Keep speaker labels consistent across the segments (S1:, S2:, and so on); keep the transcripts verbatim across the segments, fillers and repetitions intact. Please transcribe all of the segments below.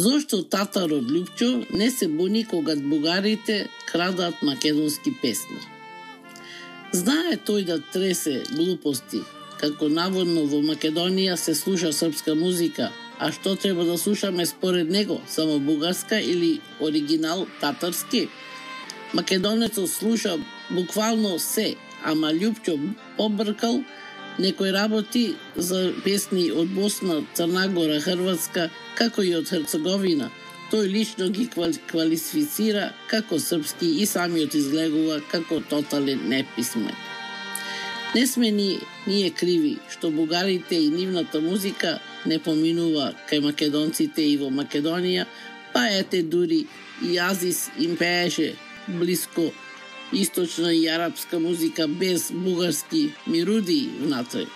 S1: Зошто татарот Лјупчо не се буни кога бугарите крадат македонски песни? Знае тој да тресе глупости, како наводно во Македонија се слуша српска музика, а што треба да слушаме според него, само бугарска или оригинал татарски? Македонецот слуша буквално се, ама Лјупчо побркал некои работи за песни од Босна, Црна Гора, Хрватска, како и од Херцеговина. Тој лично ги квалифицира како српски и самиот изгледува како тотален неписмен. Не сме ни ние криви што бугарите и нивната музика не поминува кај македонците и во Македонија, па ете дури и Азис им пееше блиско источна и арапска музика без бугарски мирудии внатре.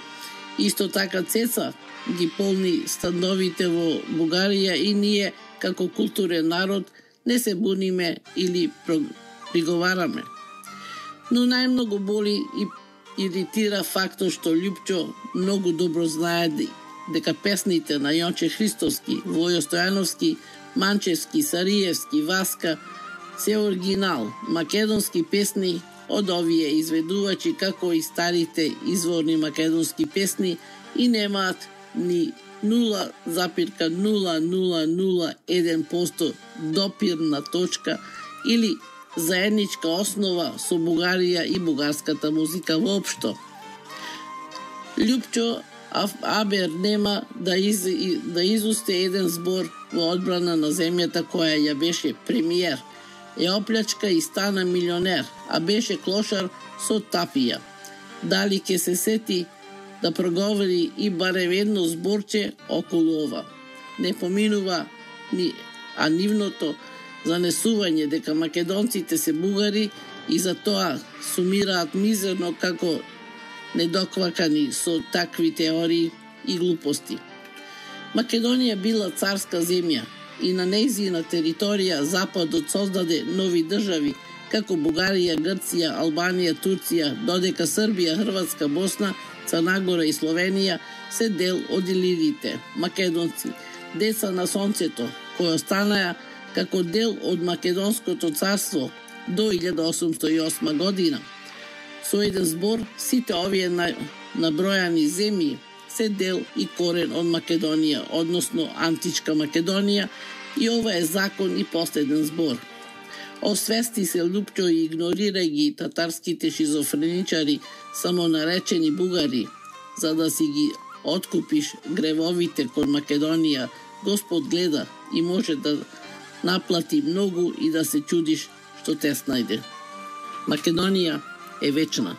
S1: Исто така Цеца ги полни становите во Бугарија и ние како културен народ не се буниме или приговараме. Но најмногу боли и иритира фактот што Лјупчо многу добро знае дека песните на Јонче Христовски, Војо Стојановски, Манчевски, Сариевски, Васка се оригинал, македонски песни од овие изведувачи како и старите изворни македонски песни и немаат ни нула запирка нула нула нула еден проценти допирна точка или заедничка основа со Бугарија и бугарската музика воопшто. Лјупчо абер нема да, из, да изусте еден збор во одбрана на земјата која ја беше премиер. Ја оплячка и стана милионер, а беше клошар со тапија. Дали ќе се сети да проговори и барем едно зборче околу ова? Не поминува ни, а нивното занесување дека македонците се бугари и за тоа сумираат мизерно како недоквакани со такви теории и глупости. Македонија била царска земја и на нејзина територија Западот создаде нови држави како Бугарија, Грција, Албанија, Турција, додека Србија, Хрватска, Босна, Црна Гора и Словенија се дел од илирите, македонци, деца на сонцето, кои останаа како дел од Македонското царство до илјада осумстотини и осма година. Со еден збор, сите овие набројани земји се дел и корен од Македонија, односно античка Македонија, и ова е закон и последен збор. Освести се Лјупчо и игнорира ги татарските шизофреничари, самонаречени бугари, за да си ги откупиш гревовите кон Македонија. Господ гледа и може да наплати многу и да се чудиш што те снајде. Македонија е вечна.